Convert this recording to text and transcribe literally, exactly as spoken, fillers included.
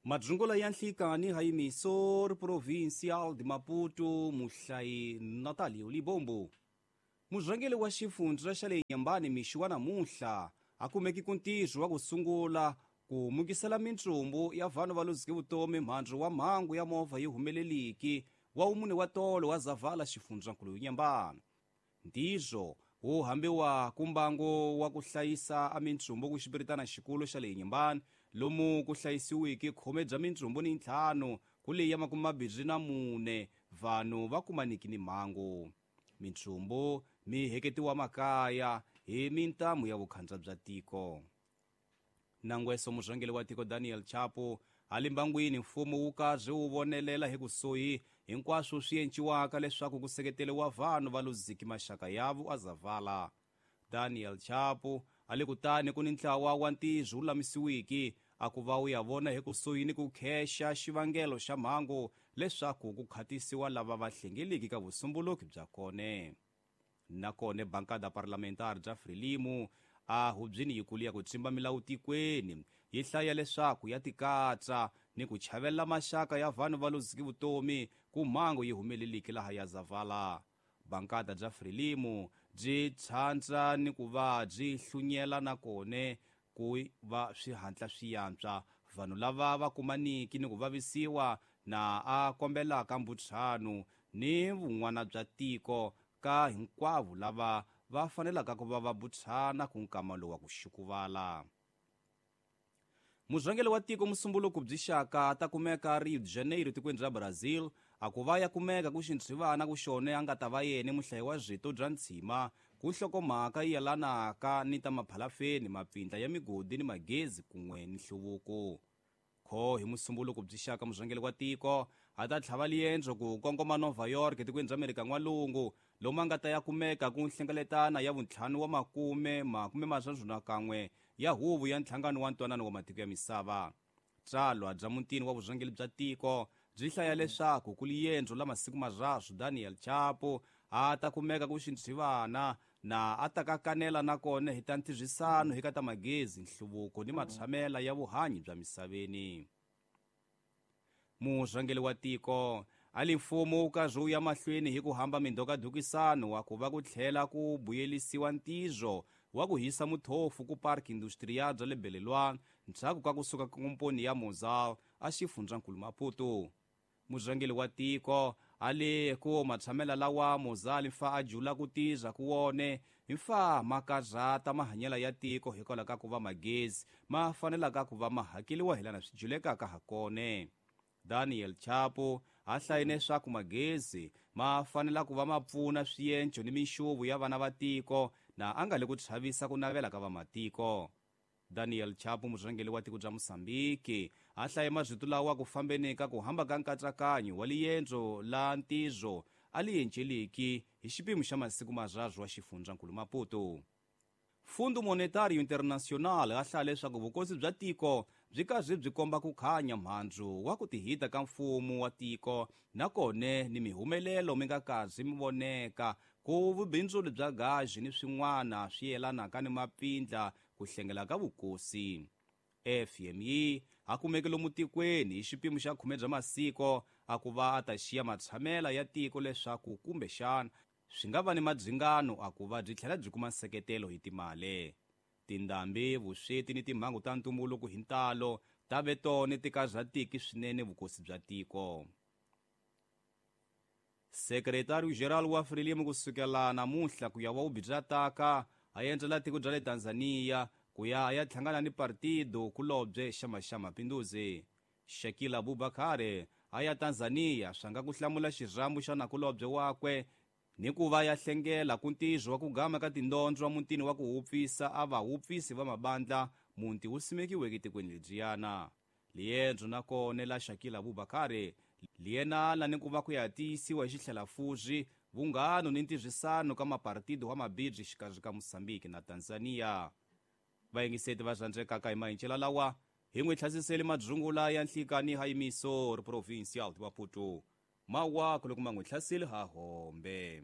Madzungula ya nhlikani ha emisor provincial de Maputo muhlayi Natalio Libombo. Murhangeri wa xifundza xa le Nyambani mixi wa namuntlha a kumeki ku ntirho wa ku sungula ku mukisela mintsumbu ya vanhu va luzike vutomi mhandzu wa mhangu ya movha yi humeleliki wa wumune wa tolo wa Zavala xifundzankulu Nyambani. Ntirho wu hambiwa ku mbangu wa ku hlayisa a mintsumbu ku xipiritana xikulu xa le Nyambani lomu ku hlayisiwiki khume bya mintsumbu ni ntlhanu ku leyi ya makume mambirhi na mune vanhu va kumaniki ni mhangu. Mintsumbu mi heketiwa makaya hi mintamu ya vukhandza bya tiko. Nangweso murhangeri wa tiko Daniel Chapo a le mbangwini mfumo wu karhi wu vonelela hi kusuhi hinkwaswo swi enciwaka leswaku ku seketeriwa vanhu va luziki maxaka yavo a Zavala. Daniel Chapo a le kutani ku ni ntlawa wa ntirho wu lamisiwiki a ku va wu ya vona hi kusuhi ni ku khexa xivangelo xa mhangu leswaku ku khatisiwa lava va hlengeliki ka vusumbuluki bya kone. Nakone bankada parlamentar bya Frelimo a hubyini yikulu ya ku tsimba milawu tikweni yi hlaya leswaku ya tikatsa ni ku chavela maxaka ya vanhu va luziki vutomi ku mhangu yi humeleliki laha ya Zavala. Bankada bya Frelimo byi tshandza ni ku va byi hlunyela nakone ku va swihatla swi yantswa vanhu lava va kumaniki ni ku vavisiwa na a kombelaka mbutsano ni vun'wana bya tiko ka hinkwavo lava va fanelaka ku va va butsana ku nkama lowu wa ku xukuvala. Murhangeri wa tiko musumbuluko byi xaka ta kumeka Rio de Janeiro tikweni ra Brazil a ku va ya kumeka ku xintshivana ku xone a nga ta va yena muhlayi wa rito bya ntshima ku nhlokomhaka yi yelanaka ni ta maphalafeni mapfindla ya migodi ni magezi kun'we ni nhluvuko. Kho hi musumbuluko byi xaka murhangeri wa tiko a ta tlhava liendzo ku kongoma Nova York tikweni ra Amerika n'walungu lomu a nga ta ya kumeka ku nhlengeletana ya vuntlhanu wa makume makume manharhu na kan'we ya huvo ya nhlangano wa ntwanano wa matiko ya misava. Tsalwa bya mutini wa vurhangeri bya tiko byi hlaya leswaku ku liendzo la masiku marharhu Daniel Chapo a ta kumeka ku xintshivana na a ta kakanela nakona hi ta ntirhisano hi ka ta magezi nhluvuko ni matshamela ya vuhanyi bya misaveni. Murhangeri wa tiko a li mfumo wu karhi wu ya mahlweni hi ku hamba mindhokadhukisano wa ku va ku tlhela ku buyelisiwa ntirho wa ku hisa muthofu ku park industrial bya le Belelwana ndzhaku ka kusuka ka komponi ya Mozal a xifundzankulu Maputo. Murhangeri wa tiko a le ku matshamela lawa Mozal mfa a jula ku tirha ku wone mfa makarhata mahanyela ya tiko hikwalaho ka ku va magezi ma fanelaka ku va ma hakeliwa hi lana swi julekaka ha kone. Daniel Chapo a hlayine leswaku magezi ma fanela ku va ma pfuna swienco ni minxuvu ya vana va tiko na a nga le ku chavisa ku navela ka vamatiko. Daniel Chapo murhangeri wa tiko bya Mozambique a hlaye marito lawa ku fambeni ka ku hamba ka nkatsakanyo wa liendzo la ntirho a li enceliki hi xipimo xa masiku marharhu wa xifundzankulu Maputo. Fundo Monetario Internacional a hlaya leswaku vukosi bya tiko byi karhi byi komba ku khanya mhandzu wa ku tihita ka mfumo wa tiko nakone ni mihumelelo mi nga karhi mi voneka ku vubindzuli bya gazi ni swin'wana swi yelanaka ni mapfindla ku hlengela ka vukosi. F M I a kumeke lomu tikweni hi xipimo xa khume bya masiko a ku va a ta xiya matshamela ya tiko leswaku kumbexana swi nga va ni madzingano a ku va byi tlhela byi kuma nseketelo hi timali. Tindhambi, vusweti ni timhangu ta ntumbuluko hi ntalo ta ve tona ti karhatiki swinene vukosi bya tiko. Secretary General wa Frelimo kusukela namuntlha ku ya wa bya taka a endzela tiko bya le Tanzania ku ya ya hlangana ni partido kulobye xa xa Mapinduzi. Shakila Abubakar a ya Tanzania swa nga ku hlamula xirhambo xa nakulobye wakwe ni ku va ya hlengela ku ntirho wa ku gama ka tindondzo wa mutini wa ku hupfisa a va hupfisi va mabandla muti wu simekiweke tikweni lebyiyana. Liendzo nakona la Shakila Abubakar liyenala ni ku va ku ya tiyisiwa hi xitlhelafuzi vunghano ni ntirhisano ka mapartido wa mabindzu xikarhi ka Mozambique na Tanzania. Vayingiseti va rhandzekaka hi mahincela lawa hi n'wi tlhasiseli madzungula ya nhlikani ha emisor provincial de Maputo. Mawaku loko ma n'wi hlaseli ha hombe.